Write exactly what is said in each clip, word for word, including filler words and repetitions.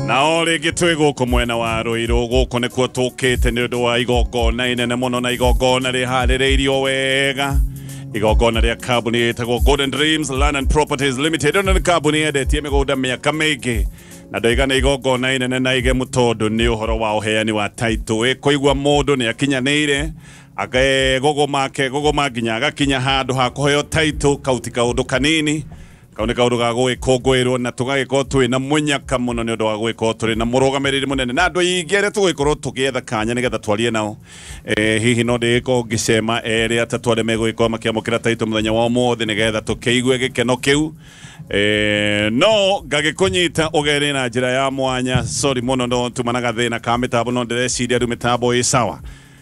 Na o rĩngĩ twĩ gũkũ mwena wa Ruiru, gũkũ nĩkuo tũkĩte nĩ ũndũ wa igongona inene mũno, na igongona rĩharĩrĩirio wega, igongona rĩa kambuni ĩtagwo Golden Dreams Land and Properties Limited. Ĩno nĩ kambuni yendetie mĩgũnda mĩaka mĩingĩ, na ndoiga nĩ igongona inene na igemu tondũ nĩ ũhoro wa ũheani wa title. Ĩkũigua mũndũ nĩ akinyanĩire akegũgũma akegũgũma nginya agakinya handũ ha kũheo title, kau ti kaũndũ kanini, kau nĩ kaũndũ ga gũgĩkũngũĩrwo, na tũgagĩkorwo twĩ na mũnyaka mũno nĩ ũndũ wa gũgĩkorwo tũrĩ na mũrũgamĩrĩri mũnene na andũ aingĩ arĩa tũgũgĩkorwo tũgĩetha kanya nĩgetha twarie nao. eh, hihi no ndĩgĩkorwo ngĩcema erĩ atatũ arĩa megũgĩkorwo makĩamũkĩra title mũthenya wa ũmũthĩ nĩgetha tũkĩigue gĩkeno kĩu. Eh, no ngagĩkũnyita ũgeni na njĩra ya mwanya. Sorry mũno, no tuma na gathĩna ka mĩtambo, no ndĩreciria rĩu mĩtambo ĩ sawa.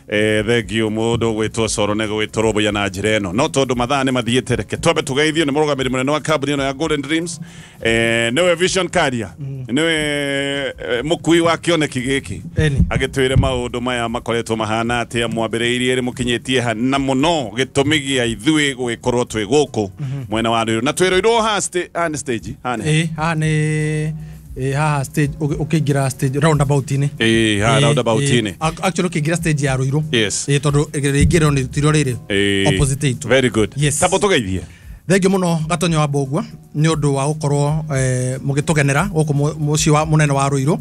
Eh, thank you mũndũ gwĩtwo Coro nĩ gwĩtũrũmbũiya na njĩra ĩno, no tondũ mathaa nĩ mathiĩte, reke twambe tũgeithio nĩ mũrũgamĩrĩri mũnene wa kambuni ĩno ya Golden Dreams, eh, nĩwe Vision Carrier, nĩwe eh, mũkui wa kĩoneki gĩkĩ, Eni. agĩtwĩre maũndũ maya makoretwo mahana atĩa, mwambĩrĩirie rĩ, mũkinyĩtie ha, na mũno gĩtũmi gĩa ithuĩ gũgĩkorwo twĩ gũkũ mwena wa Ruiru na twĩ Ruiru ha sta- haha nĩ stage haha nĩ Ĩ, haha nĩ ĩ, haha stage ũgĩ- ũkĩingĩra stage roundabout-inĩ. Ĩ, haha roundabout-inĩ. Ĩ, actually ũkĩingĩra stage ya Ruiru. Yes. Ĩ, tondũ rĩingĩrĩro nĩ tirio rĩrĩ Ĩ, opposite itũ. Very good. Yes. Tabo tũgeithie. Thengiũ mũno Gatonyo wa Mbũgua nĩ ũndũ wa gũkorwo eh, mũgĩtũgenera gũkũ mũ- mũciĩ wa mũnene wa Ruiru.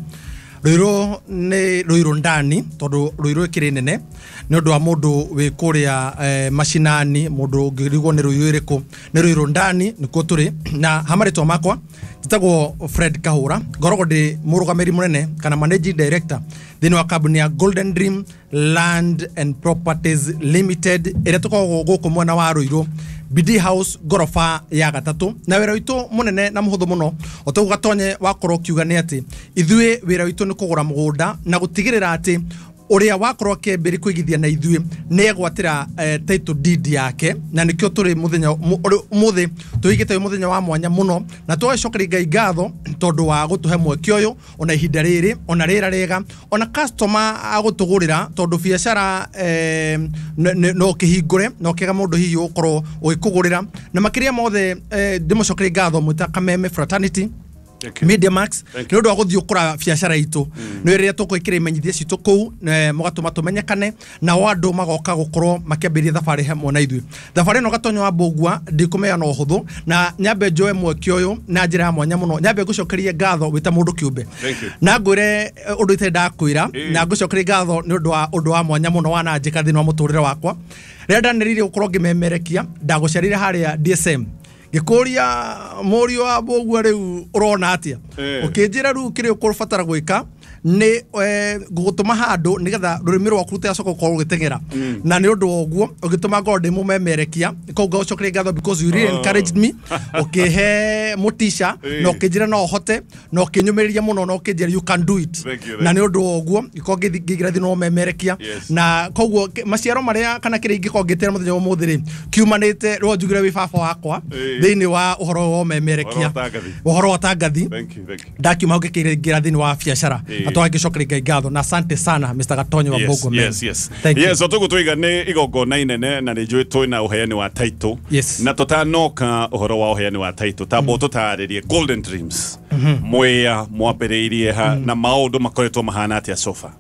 Ruiru nĩ Ruiru ndani, tondũ Ruiru ĩkĩrĩ nene, nĩ ũndũ wa mũndũ wĩ kũrĩa eh, macinani, mũndũ ũngĩrigwo nĩ Ruiru ĩrĩkũ, nĩ Ruiru ndani nĩkuo tũrĩ. Na ha marĩtwa makwa njĩtagwo Fred Kahũra, ngoragwo ndĩ mũrũgamĩrĩri mũnene kana managing director thĩinĩ wa kambuni ya Golden Dream Land and Properties Limited ĩrĩa tũkoragwo gũkũ mwena wa Ruiru, B D House, ngoroba ya gatatũ. Na wĩra witũ mũnene na mũhũthũ mũno, o toguo Gatonye wakorwo ũkiuga, nĩ atĩ ithuĩ wĩra witũ nĩ kũgũra mũgũnda na gũtigĩrĩra atĩ ũrĩa wakorwo akĩambĩrĩria kũigithia na ithuĩ nĩ egwatĩra eh, title deed yake. Na nĩkĩo tũrĩ mũthenya ũmũthĩ tũigĩte wĩ mũthenya wa mwanya mũno, na tũgacokeria Ngai ngatho tondũ wa gũtũhe mweke ũyũ, ona ihinda rĩrĩ, ona rĩera rĩega, ona customer agũtũgũrĩra, tondũ biacara eh, n- n- no ũkĩhingũre no kĩega mũndũ hihi ũkorwo ũgĩkũgũrĩra. Na makĩria mothe eh, ndĩmũcokerie ngatho mwĩta Kameme Fraternity Thank you. Media Max Thank nĩ ũndũ wa gũthiĩ ũkũra biacara itũ, nĩ rĩrĩa tũgwĩkĩra imenyithia citũ kũu, eh, mũgatũma tũmenyekane nao andũ magoka gũkorwo makĩambĩrĩria thabarĩ hamwe na ithuĩ. Thabarĩ ĩno, Gatonyo wa Mbũgua, ndikũmeana ũhũthũ, na nyambe njoe mweke ũyũ na njĩra ya mwanya mũno, nyambe ngũcokerie ngatho wĩ ta mũndũ kĩũmbe Thank you. na ngwĩre eh, ũndũ itarĩ ndakwĩra, Ĩĩ. na ngũcokerie ngatho nĩ ũndũ wa ũndũ wa mwanya mũno wananjĩka thĩinĩ wa mũtũrĩre wakwa. Rĩrĩa ndanĩrĩirie gũkorwo ngĩmemerekia, ndagũcerire harĩa D S M, ngĩkũria, "Mũriũ wa Mbũgua, rĩu ũrona atĩa?" Eh. Ũkĩnjĩra, "Rĩu kĩrĩa ũkũbatara gwĩka nĩ eh, ngũgũtũma handũ nĩgetha rũrĩmĩ rwaku rũtigacoka gũkorwo rũgĩteng'era." Na nĩ ũndũ wa ũguo ũgĩtũma ngorwo ndĩ mũmemerekia. Koguo ngagũcokeria ngatho because you really Oh. encouraged me, ũkĩhe mũtica Eh. na ũkĩnjĩra no ũhote, na ũkĩnyũmĩrĩria mũno na ũkĩnjĩra, "You can do it." Thank you, Na nĩ ũndũ wa ũguo ngĩkorwo ngĩthi- ngĩingĩra thĩinĩ wa ũmemerekia. Yes. Na koguo kĩ- maciaro marĩa kana kĩrĩa ingĩkorwo ngĩtĩra mũthenya wa ũmũthĩ rĩ, kiumanĩte rĩo njugire wĩ baba wakwa Ĩĩ. thĩinĩ wa ũhoro wa ũmemerekia. Ũhoro wa ũtangathi. Ũhoro wa ũtangathi. Thank you, thank you. Ndakiuma hau ngĩkĩingĩra thĩinĩ wa biacara Ĩĩ. na tũgagĩcokeria Ngai ngatho. Na asante sana, Mister Gatonyo wa Yes, Mbũgua man. yes, yes. Thank you. Yes, o toguo twiga nĩ igongona inene, na nĩ njũĩ twĩna ũheani wa title. Yes. Na tũtanoka ũhoro wa ũheani wa title, tamba tũtarĩrie Golden Dreams mwĩa mwambĩrĩirie ha na maũndũ makoretwo mahana atĩa so far.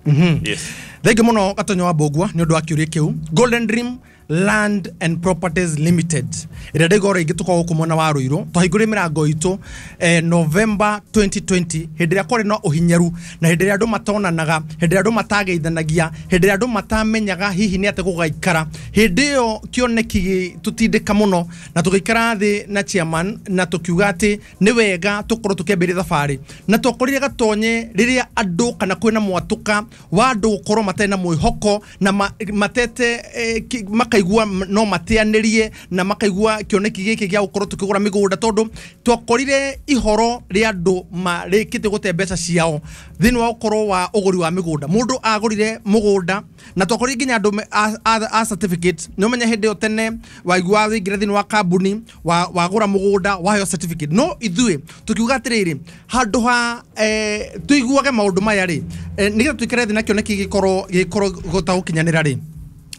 Yes. Thengiũ mũno, Gatonyo wa Mbũgua, nĩ ũndũ wa kĩũria kĩu. Golden Dream Land and Properties Limited ĩrĩa ndaiga oro ingĩ tũkoragwo gũkũ mwena wa Ruiru, twahingũrire mĩrango itũ eh, November twenty twenty, hĩndĩ ĩrĩa kwarĩ na ũhinyaru na hĩndĩ ĩrĩa andũ matonanaga, hĩndĩ ĩrĩa andũ matageithanagia, hĩndĩ ĩrĩa andũ matamenyaga hihi nĩ atĩ gũgaikara. Hĩndĩ ĩyo kĩoneki gĩtũtindĩka mũno na tũgĩikara thĩ na chairman na tũkiuga atĩ nĩ wega tũkorwo tũkĩambĩrĩria thabarĩ. Na twakorire, Gatonye, rĩrĩa andũ kana kwĩna mwatũka wa andũ gũkorwo matarĩ na mwĩhoko na ma, matete eh, ki- makaigua m- no mateanĩrie na makaigua kĩoneki gĩkĩ gĩa gũkorwo tũkĩgũra mĩgũnda, tondũ twakorire ihoro rĩa andũ marĩkĩtie gũte mbeca ciao thĩinĩ wa ũkorwo wa ũgũri wa mĩgũnda. Mũndũ agũrire mũgũnda na twakorire nginya andũ me- a, a, a certificate. Nĩ ũmenya hĩndĩ ĩyo tene waigua waingĩra thĩinĩ wa kambuni, wa- wagũra mũgũnda, waheo certificate. No ithuĩ tũkiuga atĩrĩrĩ, handũ ha eh, tũiguage maũndũ maya rĩ, eh, nĩgetha tũikare thĩ na kĩoneki gĩkorwo gĩkorwo gũta gũkinyanĩra rĩ.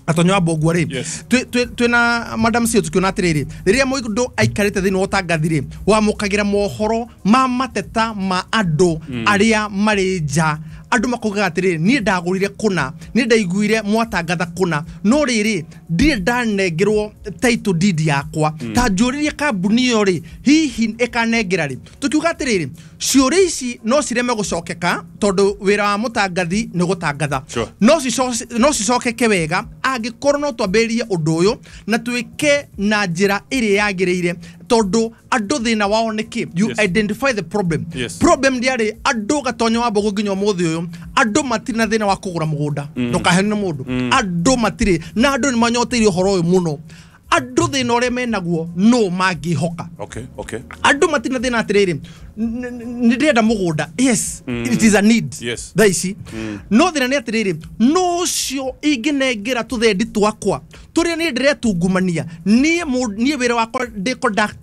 Gatonyo wa Mbũngua rĩ, Yes. twĩ- twĩ- twĩna madam cio tukiona atĩrĩrĩ, rĩrĩa mũndũ aikarĩte thĩinĩ wa ũtangathi rĩ, wamũkagĩra mohoro ma mateta ma andũ arĩa marĩ nja. Andũ makaugaga atĩrĩrĩ, niĩ ndagũrire kũna, niĩ ndaiguire mwatangatha kũna, no rĩrĩ, ndirĩ ndanengerwo title deed yakwa. Ta njũrĩrie kambuni ĩyo rĩ, hihi ĩkanengera rĩ? Tukiuga atĩrĩrĩ, ciũria ici no cireme gũcokeka tondũ wĩra wa mũtangathi nĩ gũtangatha. Sure. no cico- no cicokeke wega angĩkorwo no twambĩrĩrie ũndũ ũyũ na twĩke na njĩra ĩrĩa yagĩrĩire, tondũ andũ thĩna wao nĩ kĩ? You Yes. identify the problem. Yes. Problem ndĩarĩ andũ, Gatonyo wa Mbogo, nginya ũmũthĩ ũyũ andũ matirĩ na thĩna wa kũgũra mũgũnda. Ndũkahenio nĩ mũndũ, andũ matirĩ na, andũ nĩ manyoteire ũhoro ũyũ mũno. Andũ thĩna ũrĩa menaguo no mangĩhoka. Okay okay Andũ matirĩ na thĩna atĩrĩrĩ, n- n- nĩ ndĩrenda mũgũnda. Yes, it is a need Yes. thaa ici. No thĩna nĩ atĩrĩrĩ, no ũcio ingĩnengera tũthendi twakwa tũrĩa niĩ ndĩretungumania niĩ mũ- niĩ wĩra wakwa ndĩ conductor.